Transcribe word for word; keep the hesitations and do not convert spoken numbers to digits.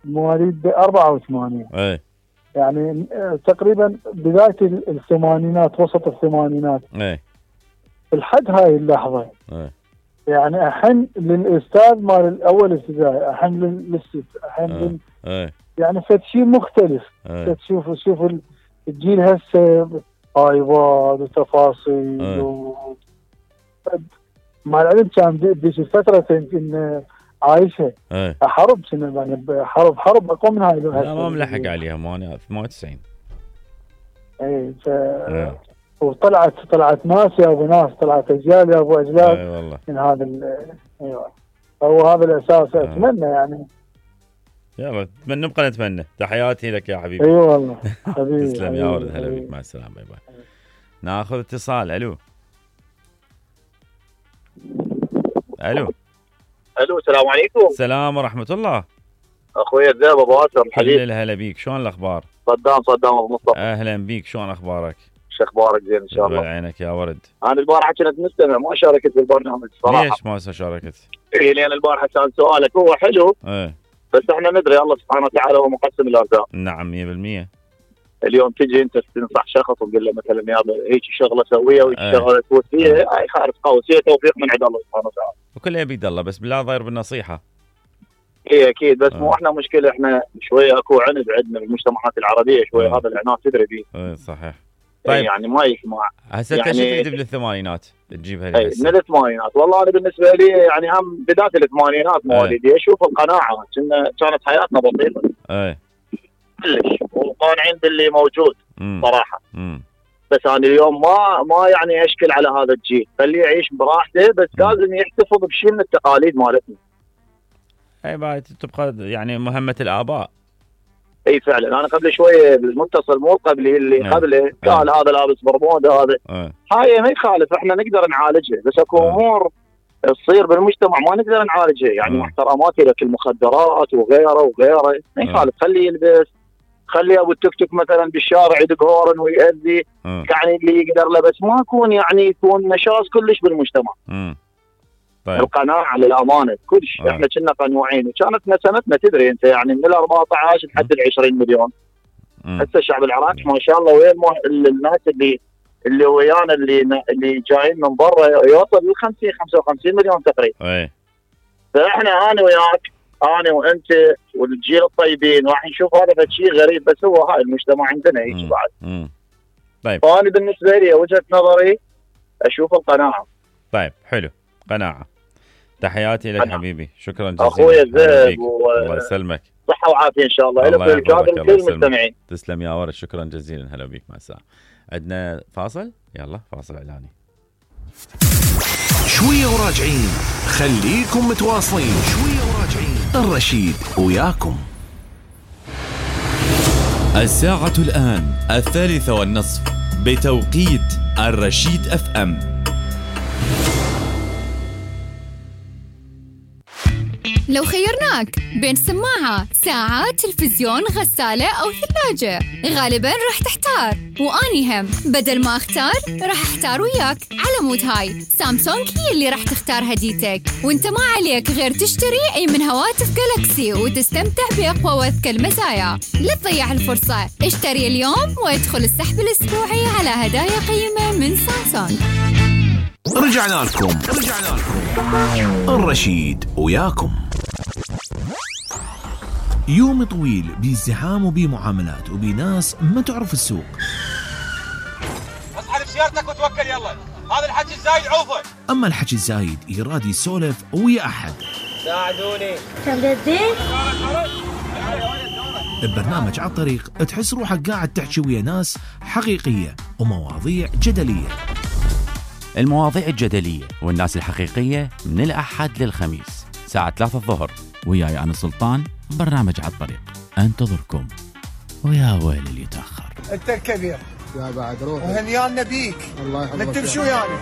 مواليد أربعة وثمانين. اي يعني تقريبا بداية الثمانينات، وسط الثمانينات. اي الحد هاي اللحظة. اي يعني أحن للأستاذ مال الأول ابتدائي، أحن للست، أحن لل... اي يعني فد شيء مختلف. تشوف تشوف الجيل هسه ايباد وتفاصيل و... مع العلم كان بذيك الفترة يمكن عايشة ايه حرب سنة، يعني حرب حرب أقوى من هاي. لا ما ملحق عليها، مو أنا ثمانية وتسعين. اي ف... وطلعت طلعت ناس يا ابو ناس، طلعت اجيال يا ابو اجيال. اي والله من هذا ال... ايوه هو هذا الاساس. أه. اتمنى يعني يلا نتمنى، نبقى نتمنى. تحياتي لك يا حبيبي. اي أيوة والله حبيبي. تسلم يا ولد، هلا بك، مع السلامه. باي باي. ناخذ اتصال. الو الو الو السلام عليكم. السلام ورحمه الله. اخوي الذئب ابو اسر الحبيب. هلا بيك، شلون الاخبار؟ صدام صدام ابو مصطفى. اهلا بيك، شلون اخبارك؟ شو اخبارك؟ زين ان شاء الله. عينك يا ورد. انا البارحه كنت مستمع، ما شاركت بالبرنامج صراحه. ليش ما شاركت؟ اي لان البارحه كان سؤالك هو حلو. ايه بس احنا ندري الله سبحانه وتعالى هو مقسم الارزاق. نعم مية بالمية. اليوم تجي انت تنصح شخص وتقول له مثلا يا هيك شغله سويها وهيك أيه. شغله تفوت فيها، هاي خارج قوس، هي توفيق من عند الله سبحانه وتعالى. وكلها بيد الله، بس بالله ضاير بالنصيحه. اي اكيد، بس أه. مو احنا مشكله، احنا شويه اكو عند عندنا بالمجتمعات العربيه شويه. أه. هذا العناد تدري فيه. اي صحيح. طيب يعني ما يسمع. هسه يعني انت شو تكتب بالثمانينات تجيبها لي؟ اي من الثمانينات. والله انا بالنسبه لي يعني هم بدايه الثمانينات مواليدي. اشوف القناعه كانت حياتنا بسيطه. اي كلش، وقانعين باللي موجود. مم. صراحه. مم. بس انا اليوم ما ما يعني اشكل على هذا الجيل، خليه يعيش براحته، بس مم. لازم يحتفظ بشيء من التقاليد مالتنا. اي بعد تبقى يعني مهمه الاباء. اي فعلا. انا قبل شويه بالمتصل مو قبلي اللي أه. قبله قال أه. هذا لابس برموده هذا. أه. هاي ما يخالف، احنا نقدر نعالجها، بس اكو امور تصير بالمجتمع ما نقدر نعالجها. يعني أه. محترمات لك المخدرات وغيره وغيره، ما يخالف. خليه يلبس، خلي ابو التوك توك مثلا بالشارع يدق هورن ويأذي. أه. يعني اللي يقدر له، بس ما يكون يعني يكون نشاز كلش بالمجتمع. امم طيب. القناعه للامانه كلش. أه. احنا كنا قنوعين، وكانت نسمتنا تدري انت يعني من ال أربعة عشر لحد ال عشرين مليون. هسه الشعب العراقي ما شاء الله وين الناس اللي اللي ويانا اللي اللي جايين من برا يوصل ل خمسين خمسة وخمسين مليون تقريبا. اي فاحنا انا وياك، انا وانت والجيل الطيبين راح نشوف هذا شيء غريب، بس هو هاي المجتمع عندنا هيك بعد. امم طيب. فانا بالنسبه لي وجهه نظري اشوف القناعه. طيب حلو، قناعه. تحياتي لك حبيبي، شكرا جزيلا اخوي الذئب. و... الله يسلمك، صحه وعافيه ان شاء الله. الله الى الكادر كل المستمعين. تسلم يا ورد، شكرا جزيلا. هلا بيك، مع السلامه. عندنا فاصل، يلا فاصل اعلاني. شويه وراجعين، خليكم متواصلين. شويه وراجعين، الرشيد وياكم. الساعة الآن الثالثة والنصف بتوقيت الرشيد اف ام. لو خيرناك بين سماعة، ساعة، تلفزيون، غسالة أو ثلاجة، غالباً راح تحتار. وأني هم بدل ما أختار راح أحتار وياك. على مود هاي سامسونج هي اللي راح تختار هديتك، وانت ما عليك غير تشتري أي من هواتف جالكسي وتستمتع بأقوى وأذكى المزايا. لا تضيع الفرصة، اشتري اليوم وادخل السحب الأسبوعي على هدايا قيمة من سامسونج. رجعنا لكم رجعنا لكم الرشيد وياكم. يوم طويل بازدحام وبمعاملات وبناس ما تعرف السوق. اصحى بسيارتك وتوكل يلا، هذا الحكي الزايد عوفه. اما الحكي الزايد يراد يسولف ويا احد. ساعدوني. تمدين؟ ببرنامج على الطريق تحس روحك قاعد تحكي ويا ناس حقيقية ومواضيع جدلية. المواضيع الجدلية والناس الحقيقية من الأحد للخميس ساعة ثلاثة الظهر، وياي أنا سلطان، برنامج على الطريق أنتظركم. ويا ويل اللي يتأخر. أنت الكبير يا بعد روح وهنيانا بيك. الله يحفظك. نكتب شو يعني؟